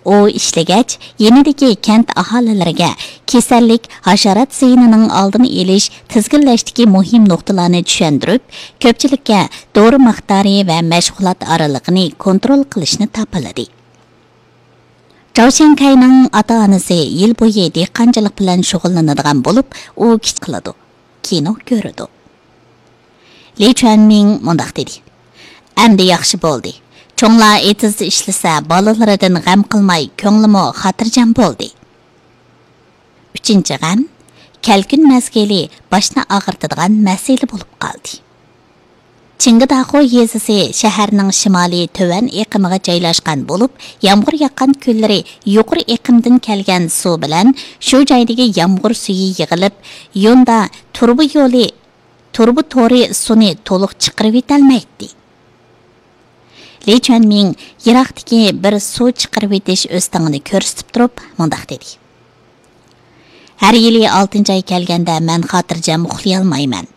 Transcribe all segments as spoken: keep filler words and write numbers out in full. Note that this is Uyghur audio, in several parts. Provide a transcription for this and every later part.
ئۇ ئىشلىگەچ، يېنىدىكى كەنت ئاھالىلىرىگە كېسەللىك، ھاشارات زىيىنىنىڭ ئالدىنى ئېلىش، تىزگىنلەشتىكى مۇھىم نۇقتىلارنى چۈشەندۈرۈپ، كۆپچىلىككە دورا مىقدارى ۋە مەشغۇلات ئارىلىقىنى كونترول قىلىشنى تاپىلىدى. جاۋ شيەنكەينىڭ ئاتا-ئانىسى يىل بويى دېھقانچىلىق بىلەن شۇغۇللىنىدىغان بولۇپ، ئۇ كىچىك قىلىدۇ، كىنو كۆرىدۇ. لى چۈەنمىڭ مۇنداق دېدى: «ئەمدى ياخشى بولدى. چوڭلار ئېتىزدا ئىشلىسە، بالىلىرىدىن غەم قىلماي، كۆڭلىمۇ خاتىرجەم بولدى.» ئۈچىنچى غەم، كەلكۈن مەزگىلى باشنى ئاغرىتىدىغان مەسىلە بولۇپ قالدى. چىڭگىداخۇ يېزىسى شەھەرنىڭ شىمالىي تۆۋەن ئېقىمىغا جايلاشقان بولۇپ، يامغۇر ياغقان كۈنلىرى يۇقىرى ئېقىمدىن كەلگەن سۇ بىلەن شۇ جايدىكى يامغۇر سۈيى يىغىلىپ، يوندا تۇرۇبا يولى، تۇرۇبا تورى سۇنى تولۇق چىقىرىۋېتەلمەيتتى. لى چۈەنمىڭ يىراقتىكى بىر سۇ چىقىرىۋېتىش ئۆستىڭىنى كۆرسىتىپ تۇرۇپ مۇنداق دېدى: «ھەر يىلى ئالتىنچى ئاي كەلگەندە مەن خاتىرجەم ئۇخلىيالمايمەن.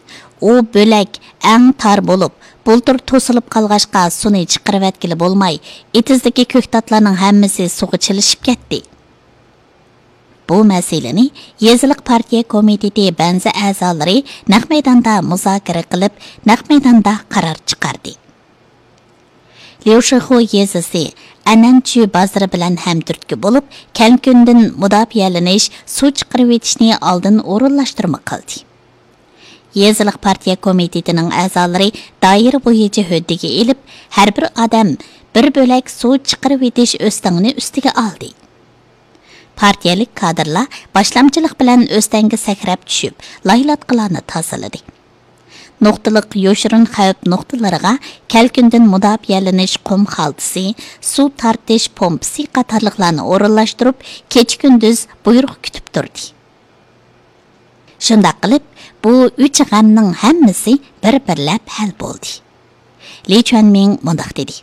ئۇ بۆلەك ئەڭ تار بولۇپ، بۇلتۇر توسۇلۇپ قالغاچقا، سۇنى چىقىرىۋەتكىلى بولماي، ئېتىزدىكى كۆكتاتلارنىڭ ھەممىسى سۇغا چىلىشىپ كەتتى.» بۇ مەسىلىنى يېزىلىق پارتىيە كومىتېتى بەنزى ئەزالىرى نەق مەيداندا مۇزاكىرە قىلىپ، نەق مەيداندا قارار چىقاردى. ليۇشىخۇ يېزىسى ئەنەنچۈ بازىرى بىلەن ھەمتۈرتكە بولۇپ، كەلكۈندىن مۇداپىئەلىنىش، سۇ چىقىرىۋېتىشنى ئالدىن ئورۇنلاشتۇرما قىلدى. يېزىلىق پارتىيە كومىتېتىنىڭ ئەزالىرى دائىرە بويىچە ھۆددىگە ئېلىپ، ھەر بىر ئادەم بىر بۆلەك سۇ چىقىرىۋېتىش ئۆستەڭنى ئۈستىگە ئالدى. پارتىيەلىك كادىرلار باشلامچىلىق بىلەن ئۆستەڭگە سەكرەپ چۈشۈپ، لايلاتقىلارنى تازىلىدى. نۇقتىلىق يوشۇرۇن خەۋپ نۇقتىلىرىغا كەلكۈندىن مۇداپىئەلىنىش قۇم خالتىسى، سۇ تارتىش پومپىسى قاتارلىقلارنى ئورۇنلاشتۇرۇپ، كېچە-كۈندۈز بۇيرۇق كۈتۈپ تۇردى. شۇنداق قىلىپ، بۇ ئۈچ غەمنىڭ ھەممىسى بىر-بىرلەپ ھەل بولدى. لى چۈەنمىڭ مۇنداق دېدى: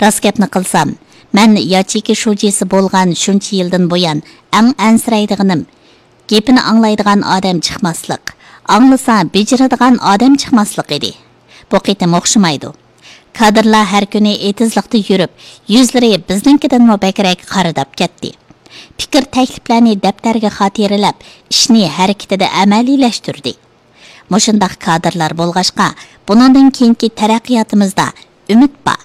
«راست گەپنى قىلسام، مەن ياچېيكا شۇجىسى بولغان شۇنچە يىلدىن بۇيان ئەڭ ئەنسىرەيدىغىنىم، گېپىنى ئاڭلايدىغان ئادەم چىقماسلىق، ئاڭلىسا بېجىرىدىغان ئادەم چىقماسلىق ئىدى. بۇ قېتىم ئوخشىمايدۇ. كادىرلار ھەر كۈنى ئېتىزلىقتا يۈرۈپ، يۈزلىرى بىزنىڭكىدىنمۇ بەكرەك قارىداپ كەتتى. پىكىر تەكلىپلەرنى دەپتەرگە خاتىرىلەپ، ئىشنى ھەرىكىتىدە ئەمەلىيلەشتۈردى. مۇشۇنداق كادىرلار بولغاچقا، بۇنىڭدىن كېيىنكى تەرەققىياتىمىزدا ئۈمىد بار.»